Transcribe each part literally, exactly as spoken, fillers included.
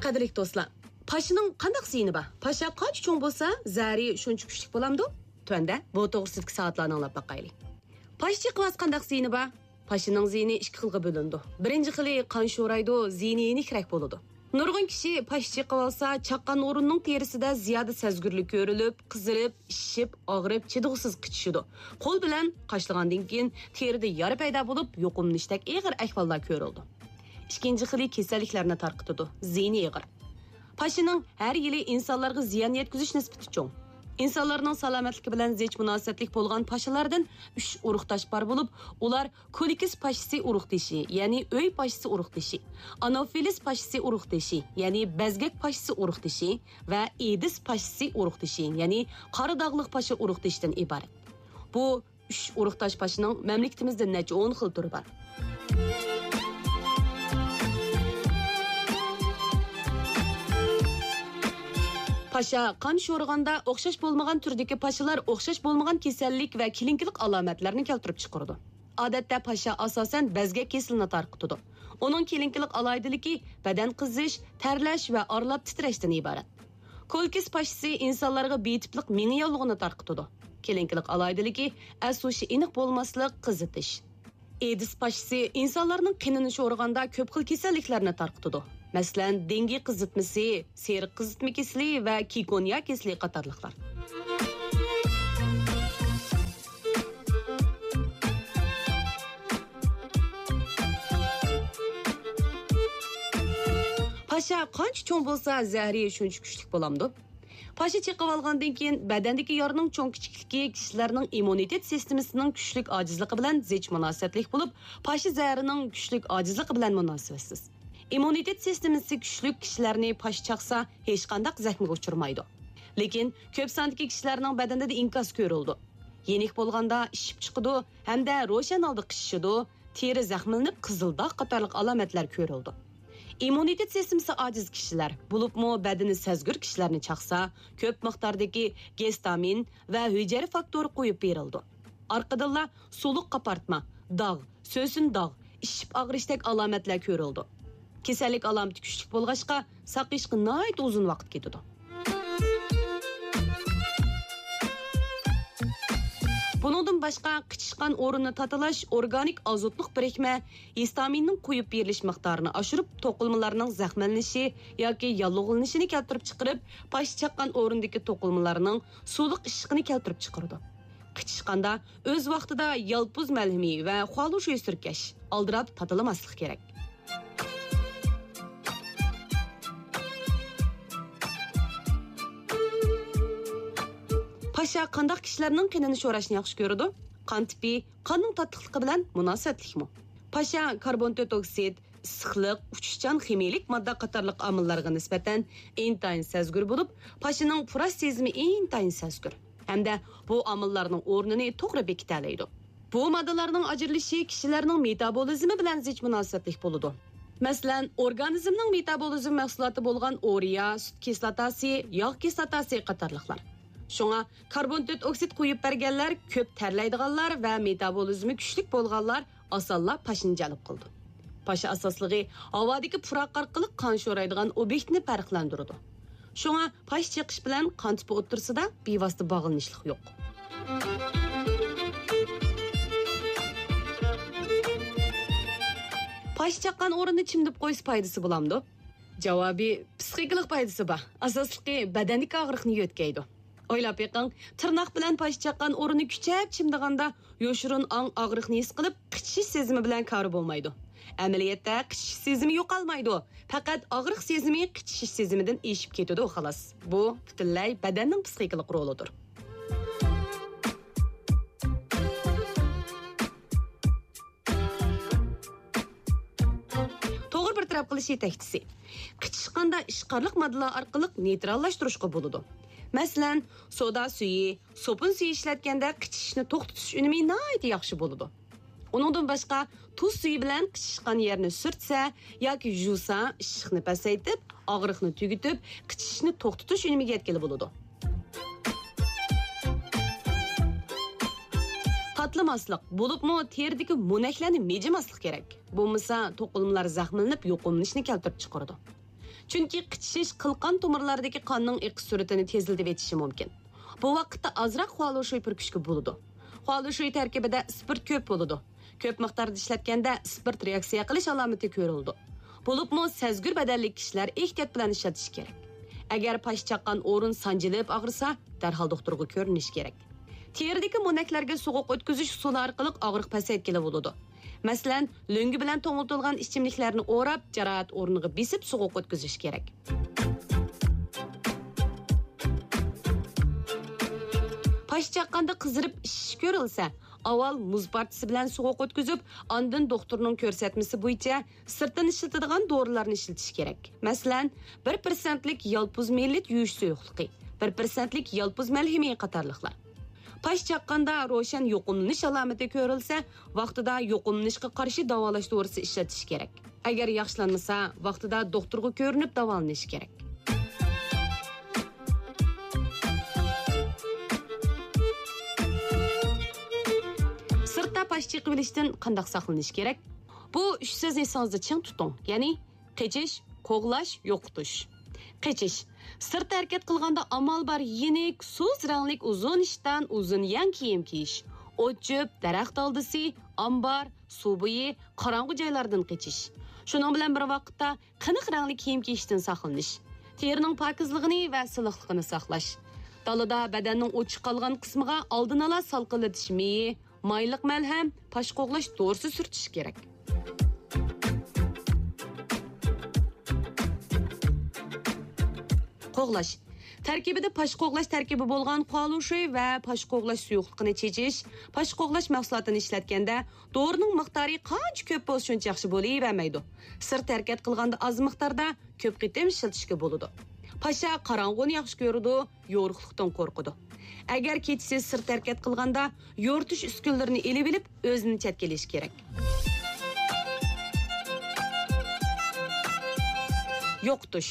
قەدىرلىك دوستلار، پاشىنىڭ قانداق زىيىنى بار؟ پاشا قانچە چوڭ بولسا، زەھىرى شۇنچە كۈچلۈك بولامدۇ؟ تۆۋەندە بۇ توغرىسىدىكى سائاتلارنى ئاڭلاپ باقايلى. پاشا چېقىۋاتسا قانداق زىيىنى بار؟ پاشىنىڭ زىيىنى ئىككى خىلغا بۆلۈنىدۇ. بىرىنچى خىلى قان شورايدۇ، زىيىنى يېنىكرەك بولىدۇ. نۇرغۇن كىشى پاشا چېقىۋالسا، چاققان ئورۇننىڭ تېرىسىدە زىيادە سەزگۈرلۈك كۆرۈلۈپ، قىزىرىپ، شىشىپ، ئاغرىپ، چىدىغۇسىز قىچىشىدۇ. قول بىلەن قاشلىغاندىن كېيىن تېرىدە يارا پەيدا بولۇپ، يۇقۇملىنىشتەك ئېغىر ئەھۋاللار كۆرۈلىدۇ. ئىككىنچى خىلى كېسەللىكلەرنى تارقىتىدۇ، زىيىنى ئېغىر. پاشىنىڭ ھەر يىلى ئىنسانلارغا زىيان يەتكۈزۈش نىسبىتى چوڭ. ئىنسانلارنىڭ سالامەتلىكى بىلەن زىچ مۇناسىۋەتلىك بولغان پاشىلاردىن ئۈچ ئۇرۇقداش بار بولۇپ، ئۇلار كولىكىس پاشىسى ئۇرۇقدىشى، يەنى ئۆي پاشىسى ئۇرۇقدىشى، ئانوفىلىس پاشىسى ئۇرۇقدىشى، يەنى بەزگەك پاشىسى ئۇرۇقدىشى ۋە ئېدىس پاشىسى ئۇرۇقدىشى، يەنى قارا داغلىق پاشا ئۇرۇقدىشىدىن ئىبارەت. بۇ ئۈچ ئۇرۇقداش پاشىنىڭ مەملىكىتىمىزدە نەچچە ئون خىل تۈرى بار. پاشا قان شورىغاندا ئوخشاش بولمىغان تۈردىكى پاشىلار ئوخشاش بولمىغان كېسەللىك ۋە كېلىنكىلىق ئالامەتلەرنى كەلتۈرۈپ چىقىرىدۇ. ئادەتتە پاشا ئاساسەن بەزگەك كېسىلىنى تارقىتىدۇ. ئۇنىڭ كېلىنكىلىق ئالاھىدىلىكى بەدەن قىزىش، تەرلەش ۋە ئارىلاپ تىترەشتىن ئىبارەت. كولكىس پاشىسى ئىنسانلارغا بىتىپلىق مېڭە ياللۇغىنى تارقىتىدۇ. كېلىنكىلىق ئالاھىدىلىكى ئەس ھوشى ئېنىق بولماسلىق، قىزىتىش. ئېدىس پاشىسى ئىنسانلارنىڭ قېنىنى شورىغاندا كۆپ خىل كېسەللىكلەرنى تارقىتىدۇ. مەسىلەن، دېڭگى قىزىتمىسى، سېرىق قىزىتما كېسىلى ۋە كىكونيا كېسىلى قاتارلىقلار. پاشا قانچە چوڭ بولسا، زەھىرى شۇنچە كۈچلۈك بولامدۇ؟ پاشا چېقىۋالغاندىن كېيىن بەدەندىكى يارىنىڭ چوڭ-كىچىكلىكى كىشىلەرنىڭ ئىممۇنىتېت سىستېمىسىنىڭ كۈچلۈك ئاجىزلىقى بىلەن زىچ مۇناسىۋەتلىك بولۇپ، پاشا زەھىرىنىڭ كۈچلۈك ئاجىزلىقى بىلەن مۇناسىۋەتسىز. ئىممۇنىتېت سىستېمىسى كۈچلۈك كىشىلەرنى پاشا چاقسا، ھېچقانداق زەخمىگە ئۇچرىمايدۇ. لېكىن كۆپ ساندىكى كىشىلەرنىڭ بەدىنىدە ئىنكاس كۆرۈلىدۇ. يېنىك بولغاندا ئىششىپ چىقىدۇ ھەمدە روشەن ھالدا قىچىشىدۇ، تېرە زەخىملىنىپ قىزىل داغ قاتارلىق ئالامەتلەر كۆرۈلىدۇ. ئىممۇنىتېت سىستېمىسى ئاجىز كىشىلەر، بولۇپمۇ بەدىنى سەزگۈر كىشىلەرنى چاقسا، كۆپ مىقداردىكى گېستامىن ۋە ھۈجەيرە فاكتورى قويۇپ بېرىلىدۇ. ئارقىدىنلا سۇلۇق قاپارتما، داغ، سۆسۈن داغ، ئىششىپ ئاغرىشتەك ئالامەتلەر كۆرۈلىدۇ. كېسەللىك ئالامىتى كۈچلۈك بولغاچقا، ساقىيىشقا ناھايىتى ئۇزۇن ۋاقىت كېتىدۇ. بۇنىڭدىن باشقا، قىچىشقان ئورۇننى تاتىلاش ئورگانىك ئازوتلۇق بىرىكمە ھىستامىننىڭ قويۇپ بېرىلىش مىقدارىنى ئاشۇرۇپ، توقۇلمىلارنىڭ زەخىملىنىشى ياكى ياللۇغلىنىشىنى كەلتۈرۈپ چىقىرىپ، پاشا چاققان ئورۇندىكى توقۇلمىلارنىڭ سۇلۇق ئىششىقىنى كەلتۈرۈپ چىقىرىدۇ. قىچىشقاندا ئۆز ۋاقتىدا يالپۇز مەلھىمى ۋە خۇالۇشۈي سۈركەش، ئالدىراپ تاتىلىماسلىق كېرەك. پاشا قانداق كىشىلەرنىڭ قېنىنى شوراشنى ياخشى كۆرىدۇ؟ قان تىپى قاننىڭ تاتلىقلىقى بىلەن مۇناسىۋەتلىكمۇ؟ پاشا كاربون تۆت ئوكسىد، ئىسسىقلىق، ئۇچۇشچان خىمىيىلىك ماددا قاتارلىق ئامىللارغا نىسبەتەن ئىنتايىن سەزگۈر بولۇپ، پاشىنىڭ پۇراش سېزىمى ئىنتايىن سەزگۈر ھەمدە بۇ ئامىللارنىڭ ئورنىنى توغرا بېكىتەلەيدۇ. بۇ ماددىلارنىڭ ئاجرىلىشى كىشىلەرنىڭ مېتابولىزمى بىلەن زىچ مۇناسىۋەتلىك بولىدۇ. مەسىلەن، ئورگانىزمنىڭ مېتابولىزم مەھسۇلاتى بولغان ئۇرېا، سۈت كىسلاتاسى، ياغ كىسلاتاسى قاتارلىقلار. شۇڭا كاربون تۆت ئوكسىد قويۇپ بەرگەنلەر، كۆپ تەرلەيدىغانلار ۋە مېتابولىزمى كۈچلۈك بولغانلار ئاسانلا پاشىنى جەلپ قىلىدۇ. پاشا ئاساسلىقى ھاۋادىكى پۇراق ئارقىلىق قان شورايدىغان ئوبيېكتنى پەرقلەندۈرىدۇ. شۇڭا پاشا چېقىش بىلەن قان تىپى ئوتتۇرىسىدا بىۋاسىتە باغلىنىشلىق يوق. پاشا چاققان ئورۇننى چىمدىپ قويسا پايدىسى بولامدۇ؟ جاۋابى، پىسخىكىلىق پايدىسى بار. ئاساسلىقى بەدەندىكى ئاغرىقنى يۆتكەيدۇ. ئويلاپ بېقىڭ، تىرناق بىلەن پاشا چاققان ئورۇننى كۈچەپ چىمدىغاندا، يوشۇرۇن ئاڭ ئاغرىقنى ھېس قىلىپ، قىچىشىش سېزىمى بىلەن كارى بولمايدۇ. ئەمەلىيەتتە قىچىشىش سېزىمى يوقالمايدۇ. پەقەت ئاغرىق سېزىمى قىچىشىش سېزىمىدىن ئېشىپ كېتىدۇ، خالاس. بۇ پۈتۈنلەي بەدەننىڭ پىسخىكىلىق رولىدۇر. توغرا بىر تەرەپ قىلىش يېتەكچىسى. قىچىشقاندا ئىشقارلىق ماددىلار ئارقىلىق نېيتراللاشتۇرۇشقا بولىدۇ. مەسىلەن، سودا سۈيى، سوپۇن سۈيى ئىشلەتكەندە قىچىشىشنى توختىتىش ئۈنۈمى ناھايىتى ياخشى بولىدۇ. ئۇنىڭدىن باشقا، تۇز سۈيى بىلەن قىچىشقان يەرنى سۈرتسە ياكى يۇسا، ئىششىقنى پەسەيتىپ، ئاغرىقنى تۈگىتىپ، قىچىشىشنى توختىتىش ئۈنۈمىگە يەتكىلى بولىدۇ. تاتلىماسلىق، بولۇپمۇ تېرىدىكى مونەكلەرنى مىجىماسلىق كېرەك. بولمىسا، توقۇلمىلار زەخىملىنىپ، يۇقۇملىنىشنى كەلتۈرۈپ چىقىرىدۇ. چۈنكى قىچىشىش قىلقان تومۇرلاردىكى قاننىڭ ئېقىش سۈرئىتىنى تېزلىتىۋېتىشى مۇمكىن. بۇ ۋاقىتتا ئازراق خۇالۇشۈي پۈركۈشكە بولىدۇ. خۇالۇشۈي تەركىبىدە ئىسپىرت كۆپ بولىدۇ. كۆپ مىقداردا ئىشلەتكەندە ئىسپىرت رېئاكسىيە قىلىش ئالامىتى كۆرۈلىدۇ. بولۇپمۇ سەزگۈر بەدەنلىك كىشىلەر ئېھتىيات بىلەن ئىشلىتىشى كېرەك. ئەگەر پاش چاققان ئورۇن سانجىلىپ ئاغرىسا، دەرھال دوختۇرغا كۆرۈنۈش كېرەك. تېرىدىكى مونەكلەرگە سوغۇق ئۆتكۈزۈش ئۇسۇلى ئارقىلىق ئاغرىق پەسەيتكىلى بولىدۇ. مەسىلەن، لۆڭگە بىلەن توڭلىتىلغان ئىچىملىكلەرنى ئوراپ، جاراھەت ئورنىغا بېسىپ سوغۇق ئۆتكۈزۈش كېرەك. پاش چاققاندا قىزىرىپ ئىششىش كۆرۈلسە، ئاۋۋال مۇز پارچىسى بىلەن سوغۇق ئۆتكۈزۈپ، ئاندىن دوختۇرنىڭ كۆرسەتمىسى بويىچە سىرتتىن ئىشلىتىدىغان دورىلارنى ئىشلىتىش كېرەك. مەسىلەن، بىر پىرسەنتلىك يالپۇز مىلىت يۇيۇش سۇيۇقلۇقى، بىر پىرسەنتلىك يالپۇز مەلھىمى قاتارلىقلار. پاش چاققاندا روشەن يۇقۇملىنىش ئالامىتى كۆرۈلسە، ۋاقتىدا يۇقۇملىنىشقا قارشى داۋالاش دورىسى ئىشلىتىش كېرەك. ئەگەر ياخشىلانمىسا، ۋاقتىدا دوختۇرغا كۆرۈنۈپ داۋالىنىش كېرەك. سىرتتا پاش چېقىۋېلىشتىن قانداق ساقلىنىش كېرەك؟ بۇ ئۈچ سۆزنى ئېسىڭىزدە چىڭ تۇتۇڭ، يەنى قېچىش، قوغلاش، يوقىتىش. قېچىش. سىرتتا ھەرىكەت قىلغاندا ئامال بار يېنىك، سۇس رەڭلىك ئۇزۇن ئىشتان، ئۇزۇن يەڭ كىيىم كىيىش. ئوت-چۆپ، دەرەخ دالدىسى، ئامبار، سۇ بويى، قاراڭغۇ جايلاردىن قېچىش. شۇنىڭ بىلەن بىر ۋاقىتتا قېنىق رەڭلىك كىيىم كىيىشتىن ساقلىنىش. تېرىنىڭ پاكىزلىقىنى ۋە سىلىقلىقىنى ساقلاش. دالىدا بەدەننىڭ ئوچۇق قالغان قىسمىغا ئالدىن ئالا سالقىنلىتىش مېيى، مايلىق مەلھەم، پاش قوغلاش دورىسى سۈرتۈش كېرەك. قوغلاش. تەركىبىدە پاش قوغلاش تەركىبى بولغان خۇالۇشۈي ۋە پاش قوغلاش سۇيۇقلۇقىنى چېچىش، پاش قوغلاش مەھسۇلاتىنى ئىشلەتكەندە، دورىنىڭ مىقدارى قانچە كۆپ بولسا، شۇنچە ياخشى بولۇۋەرمەيدۇ. سىرت ھەرىكەت قىلغاندا ئاز مىقداردا، كۆپ قېتىم ئىشلىتىشكە بولىدۇ. پاشا قاراڭغۇنى ياخشى كۆرىدۇ، يورۇقلۇقتىن قورقىدۇ. ئەگەر كېچىسى سىرت ھەرىكەت قىلغاندا، يورۇتۇش ئۈسكۈنىلىرىنى ئېلىۋېلىپ، ئۆزىنى چەتكە ئېلىشى كېرەك. يوقىتىش.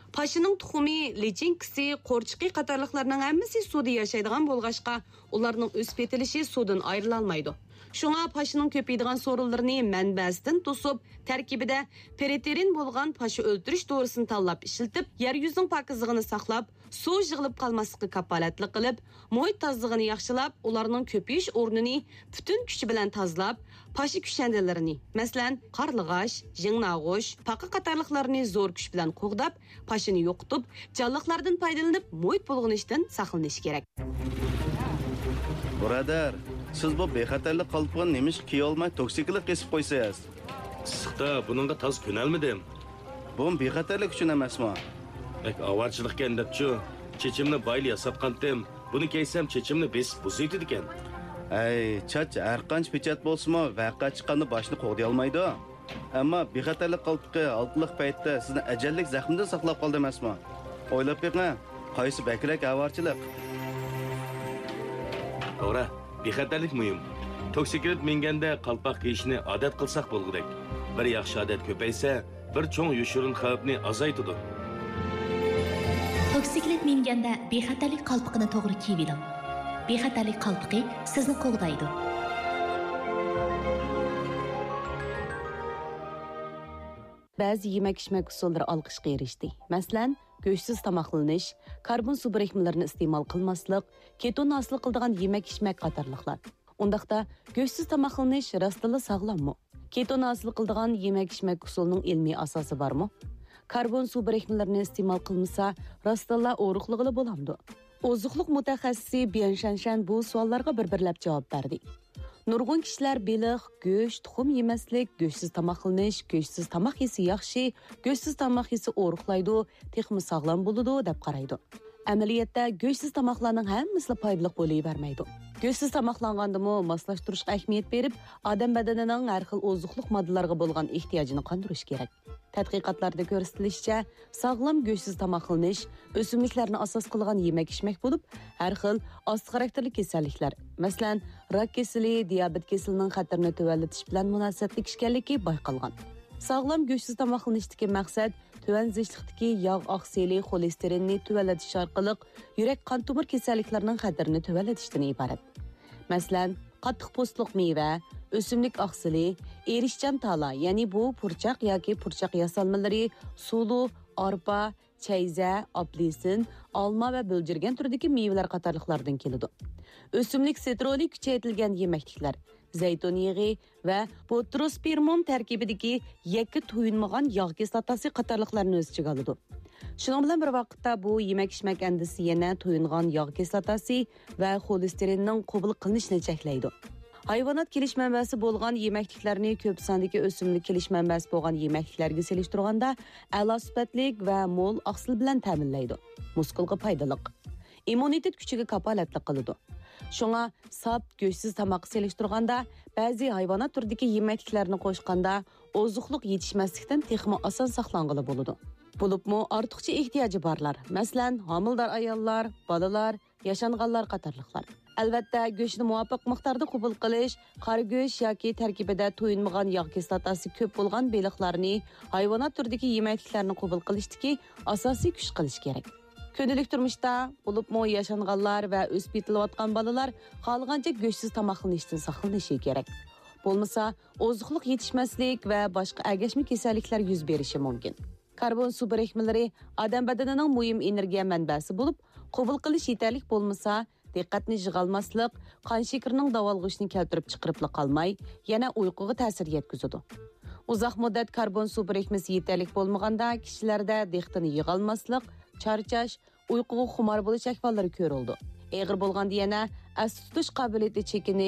پاشىنىڭ تۇخۇمى، لىچىنكىسى، قورچىقى قاتارلىقلارنىڭ ھەممىسى سۇدا ياشايدىغان بولغاچقا، ئۇلارنىڭ ئۆسۈپ يېتىلىشى سۇدىن ئايرىلالمايدۇ. شۇڭا پاشىنىڭ كۆپىيىدىغان سورۇنلىرىنى مەنبەسىدىن توسۇپ، تەركىبىدە پېرىتېرىن بولغان پاشا ئۆلتۈرۈش دورىسىنى تاللاپ ئىشلىتىپ، يەر يۈزىنىڭ پاكىزلىقىنى ساقلاپ، سۇ يىغىلىپ قالماسلىققا كاپالەتلىك قىلىپ، مۇھىت تازىلىقىنى ياخشىلاپ، ئۇلارنىڭ كۆپىيىش ئورنىنى پۈتۈن كۈچى بىلەن تازىلاپ، پاشا كۈشەندىلىرىنى، مەسىلەن، قارلىغاچ، يىڭناغۇچ، پاقا قاتارلىقلارنى زور كۈچ بىلەن قوغداپ، پاشىنى يوقىتىپ، جانلىقلاردىن پايدىلىنىپ، مۇھىت بۇلغىنىشتىن ساقلىنىش كېرەك. بۇرادەر، سىز بۇ بىخەتەرلىك قالپىقىنى نېمىشقا كىيىۋالماي توكسىكلىت قېسىپ قويىسىز؟ ئىسسىقتا بۇنىڭغا تازا كۆنەلمىدىم. بۇمۇ بىخەتەرلىك ئۈچۈن ئەمەسمۇ؟ بەك ئاۋارىچىلىقكەن دەپچۇ، چېچىمنى بايىلا ياساتقانتىم. بۇنى كىيسەم چېچىمنى بېسىپ بۇزۇۋېتىدىكەن. ھەي، چاچ ھەرقانچە پېچەت بولسىمۇ، ۋەقە چىققاندا باشنى قوغدىيالمايدۇ. ئەمما بىخەتەرلىك قالپىقى ھالقىلىق پەيتتە سىزنى ئەجەللىك زەخمىدىن ساقلاپ قالدى ئەمەسمۇ؟ ئويلاپ بېقىڭ، قايسى بەكرەك ئاۋارىچىلىق؟ توغرا، بىخەتەرلىك مۇھىم. توكسىكلىت مىنگەندە قالپاق كىيىشنى ئادەت قىلساق بولغۇدەك. بىر ياخشى ئادەت كۆپەيسە، بىر چوڭ يوشۇرۇن خەۋپنى ئازايتىدۇ. توكسىكلىت مىنگەندە بىخەتەرلىك قالپىقىنى توغرا كىيىۋېلىڭ. بىخەتەرلىك قالپىقى سىزنى قوغدايدۇ. بەزى يېمەك-ئىچمەك ئۇسۇللىرى ئالقىشقا ئېرىشتى. مەسىلەن، گۆشسىز تاماقلىنىش، كاربون سۇ بىرىكمىلىرىنى ئىستېمال قىلماسلىق، كېتون ھاسىل قىلىدىغان يېمەك-ئىچمەك قاتارلىقلار. ئۇنداقتا، گۆشسىز تاماقلىنىش راستتىنلا ساغلاممۇ؟ كېتون ھاسىل قىلىدىغان يېمەك-ئىچمەك ئۇسۇلىنىڭ ئىلمىي ئاساسى بارمۇ؟ كاربون سۇ بىرىكمىلىرىنى ئىستېمال قىلمىسا، راستتىنلا ئورۇقلىغىلى بولامدۇ؟ ئوزۇقلۇق مۇتەخەسسىسى بيەن شەنشەن بۇ سوئاللارغا بىر-بىرلەپ جاۋاب بەردى. نۇرغۇن كىشىلەر بېلىق، گۆش، تۇخۇم يېمەسلىك، گۆشسىز تاماقلىنىش، گۆشسىز تاماق يېسە ياخشى، گۆشسىز تاماق يېسە ئورۇقلايدۇ، تېخىمۇ ساغلام بولىدۇ، دەپ قارايدۇ. ئەمەلىيەتتە، گۆشسىز تاماقلارنىڭ ھەممىسىلا پايدىلىق بولۇۋەرمەيدۇ. گۆشسىز تاماقلانغاندىمۇ ماسلاشتۇرۇشقا ئەھمىيەت بېرىپ، ئادەم بەدىنىنىڭ ھەر خىل ئوزۇقلۇق ماددىلارغا بولغان ئېھتىياجىنى قاندۇرۇش كېرەك. تەتقىقاتلاردا كۆرسىتىلىشىچە، ساغلام گۆشسىز تاماقلىنىش ئۆسۈملۈكلەرنى ئاساس قىلغان يېمەك-ئىچمەك بولۇپ، ھەر خىل ئاستا خاراكتېرلىك كېسەللىكلەر، مەسىلەن، راك كېسىلى، دىيابېت كېسىلىنىڭ خەتىرىنى تۆۋەنلىتىش بىلەن مۇناسىۋەتلىك ئىكەنلىكى بايقالغان. ساغلام گۆشسىز تاماقلىنىشتىكى مەقسەت تۆۋەن زىچلىقتىكى ياغ ئاقسىلى، خولېستېرىننى تۆۋەنلىتىش ئارقىلىق يۈرەك قان تومۇر كېسەللىكلىرىنىڭ خەتىرىنى تۆۋەنلىتىشتىن ئىبارەت. مەسىلەن، قاتتىق پوستلۇق مېۋە، ئۆسۈملۈك ئاقسىلى، ئېرىشچان تالا، يەنى بۇ پۇرچاق ياكى پۇرچاق ياسالمىلىرى، سۇلۇ، ئارپا، چەيزە، ئاپېلسىن، ئالما ۋە بۆلجۈرگەن تۈرىدىكى مېۋىلەر قاتارلىقلاردىن كېلىدۇ. ئۆسۈملۈك ستېرولى كۈچەيتىلگەن يېمەكلىكلەر، زەيتۇن يېغى ۋە بوتروسپىرمون تەركىبىدىكى يەككە تويۇنمىغان ياغ كىسلاتاسى قاتارلىقلارنى ئۆز ئىچىگە ئالىدۇ. شۇنىڭ بىلەن بىر ۋاقىتتا، بۇ يېمەك-ئىچمەك ئەندىزىسى يەنە تويۇنغان ياغ كىسلاتاسى ۋە خولېستېرىننىڭ قوبۇل قىلىنىشىنى چەكلەيدۇ. ھايۋانات كېلىش مەنبەسى بولغان يېمەكلىكلەرنى كۆپ ساندىكى ئۆسۈملۈك كېلىش مەنبەسى بولغان يېمەكلىكلەرگە سېلىشتۇرغاندا ئەلا سۈپەتلىك ۋە مول ئاقسىل بىلەن تەمىنلەيدۇ. مۇسكۇلغا پايدىلىق. ئىممۇنىتېت كۈچىگە كاپالەتلىك قىلىدۇ. شۇڭا ساپ، گۆشسىز تاماققا سېلىشتۇرغاندا، بەزى ھايۋانات تۈرىدىكى يېمەكلىكلەرنى قوشقاندا، ئوزۇقلۇق يېتىشمەسلىكتىن تېخىمۇ ئاسان ساقلانغىلى بولىدۇ. بولۇپمۇ ئارتۇقچە ئېھتىياجى بارلار، مەسىلەن، ھامىلىدار ئاياللار، بالىلار، ياشانغانلار قاتارلىقلار. ئەلۋەتتە، گۆشنى مۇۋاپىق مىقداردا قوبۇل قىلىش، قارا گۆش ياكى تەركىبىدە تويۇنمىغان ياغ كىسلاتاسى كۆپ بولغان بېلىقلارنى، ھايۋانات تۈرىدىكى يېمەكلىكلەرنى قوبۇل قىلىشتىكى ئاساسىي كۈچ قىلىش كېرەك. كۈندىلىك تۇرمۇشتا، بولۇپمۇ ياشانغانلار ۋە ئۆسۈپ يېتىلىۋاتقان بالىلار خالىغانچە گۆشسىز تاماقلىنىشتىن ساقلىنىشى كېرەك. بولمىسا، ئوزۇقلۇق يېتىشمەسلىك ۋە باشقا ئەگەشمە كېسەللىكلەر يۈز بېرىشى مۇمكىن. كاربون سۇ بىرىكمىلىرى ئادەم بەدىنىنىڭ مۇھىم ئېنېرگىيە مەنبەسى بولۇپ، قوبۇل قىلىش يېتەرلىك بولمىسا، دىققەتنى يىغالماسلىق، قان شېكىرىنىڭ داۋالغۇشىنى كەلتۈرۈپ چىقىرىپلا قالماي، يەنە ئۇيقۇغا تەسىر يەتكۈزىدۇ. ئۇزاق مۇددەت كاربون سۇ بىرىكمىسى يېتەرلىك بولمىغاندا، كىشىلەردە دىققىتىنى يىغالماسلىق، چارچاش، ئۇيقۇغا خۇمار بولۇش ئەھۋاللىرى كۆرۈلىدۇ. ئېغىر بولغاندا يەنە ئەستە تۇتۇش قابىلىيىتى چېكىنىش،